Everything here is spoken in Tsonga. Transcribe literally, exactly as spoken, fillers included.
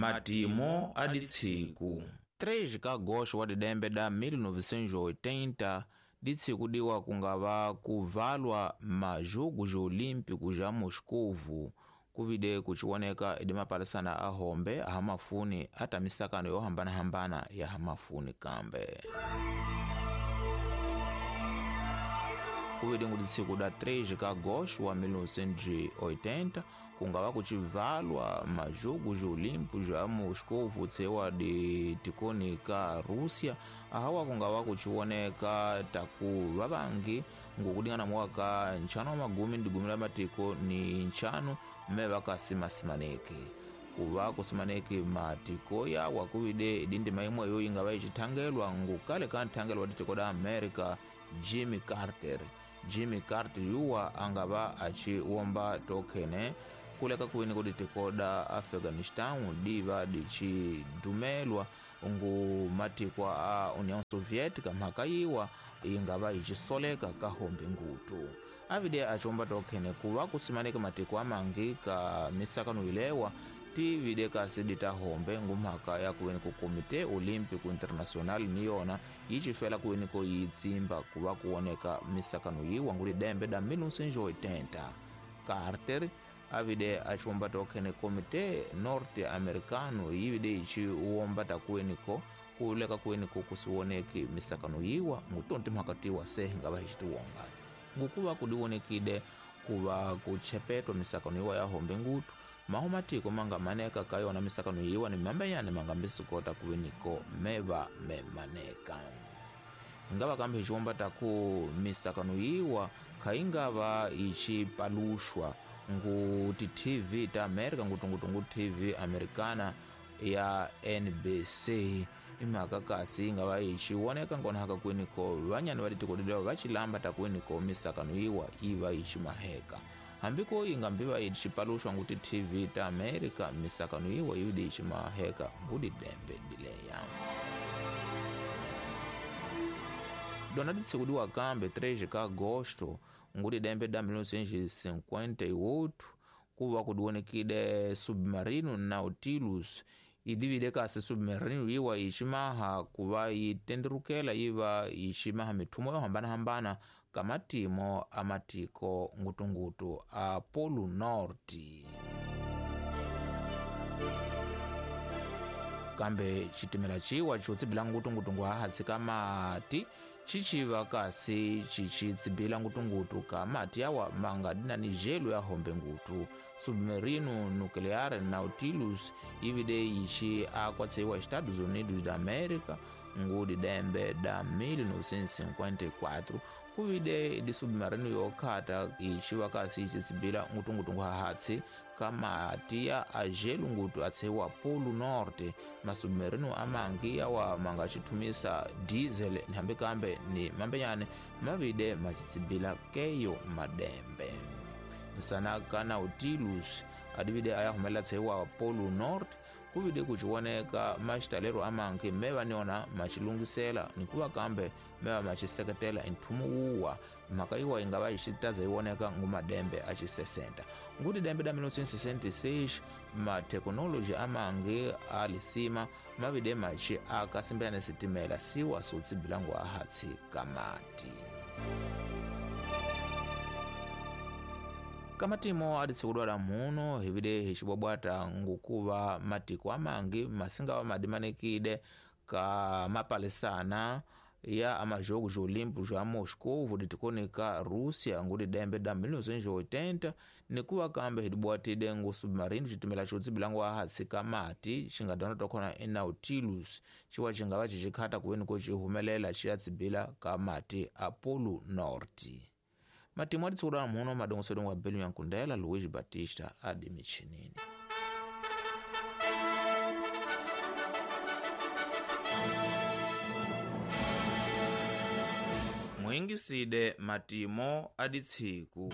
Matimo a ditsiku três ka agosto wa didembe da mil novecentos e oitenta ditsiku diwa kungava kuvalwa majugo olímpico ja Moscovo kuvide kuchiwoneka idi mapalisana ahombe ahamafuni ata misakano yohambana-hambana ya hamafuni kambe. Kuvide nguditsiku da três ka agosto wa mil novecentos e oitenta kungava kuchivalwa majugo olímpico ja Moscovo tsewa de tikoni ka Rússia ahawa kungava kuchiwoneka taku vavangi ngukudingana mwaka nchano wa magumi ndi gumi la matiko ni nchano mmeva kasimasimaneki kuva kusimaneki matiko yawa kuvide idindima imweyo ingava ichithangelwa ngukale kanthangelwa titiko da America Jimmy Carter. Jimmy Carter yuwa angava achiwomba tokene kuleka kuwini kuditiko da Afghanistan diva dichidumelwa ngu matiko a União Soviética mhaka yiwa ingava ichisoleka kahombe ngutu. Avide achiwomba tokene kuva kusimaneka matiko amangi ka misakano ilewa tivide kasi ditahombe ngumhaka ya kuweni ku Komite Olímpico Internacional niyona yichifela kuweni ko yitsimba kuva kuoneka misakano yiwa ngulidembe da mil novecentos e oitenta. Carter avide achiwomba tokene Komite Norte Americano yivide ichiwomba takuweni ko kuleka kuweni ko kusiwoneki misakano yiwa ngutonti mhaka tiwa se ngava hichitiwonga ngukuva kudiwonekide kuva kuchepetwa misakano yiwa ya hombe ngutu maho matiko manga maneka kayona misakano yiwa ni mambeyane manga misikota kuweniko meva memaneka. Ingava kambe hichiwomba taku misakano yiwa khaingava ichipalushwa nguti T V ta America ngutungutungu T V Americana ya N B C imhaka kasi ingava ichiwoneka ngonahaka kweniko vanyani valitikodilewa vachilamba takweniko misakano yiwa iva ichimaheka. Hambiko ingambiva ichipalushwa nguti T V ta America misakano yiwa yudi ichimaheka ngudidembe dileya. Dona ditsikudiwa kambe três ka agosto ngudidembe da mil novecentos e cinquenta e oito kuva kudiwonekide submarino Nautilus idivide kasi submarino yiwa ichimaha kuva yitenderukela yiva ichimaha mithumo yohambana-hambana kamatimo amatiko ngutungutu a Polo Norte. Kambe chitimela chiwa chotsibila ngutungutu hahatsi ka mati chichiva kasi chichitsibila ngutungutu ka mati awa manga dina ni gelo ya hombe ngutu. Submarino nuclear Nautilus ivide ichi akwatseiwa Estados Unidos da América ngudi dembe da mil novecentos e cinquenta e quatro kuvide di submarino yokhata ichiwa kasi ichitsibila ngutungutu hahatsi kamati ya agelo ngutu atseiwa Polo Norte. Masubmarino amangi awa manga chithumisa diesel nihambe kambe ni mambenyane mavide machitsibila keyo madembe. Nsanaka Nautilus adivide ayahumela tseiwa Polo Norte kuvide kuchiwoneka maxitalero amangi meva niona machilungisela nikuva kambe meva machiseketela nthumu wuwa mhaka yiwa ingava yixitaza yiwoneka ngumadembe acisesenta. Nguti dembe da mil novecentos e sessenta e seis mathekinoloji amangi alisima mavide machi akasimbelana sitimela siwa sotsibilangu ahatsi kamati. Kamatimo aditsikudwala muno hivide hicibwabwata ngukuva matiko amangi masingawa madimanikide ka mapalisana ya amajogo olímpico ja Moscovo ditikoni ka Rússia ngudi dembe da mil novecentos e oitenta nikuva kambe hidibwatide ngu submarino chitimela chotsibilangu ahatsi kamati xingadona tokona e Nautilus chiwa xingava xixikhata kuweni ko xihumelela xiyatsibila ka mati a Polo Norte. Matimo aditsikudwala muno madongosedongo wa Belu Yankundela Luiz Batista adimichinini. Mwingiside matimo aditsiku.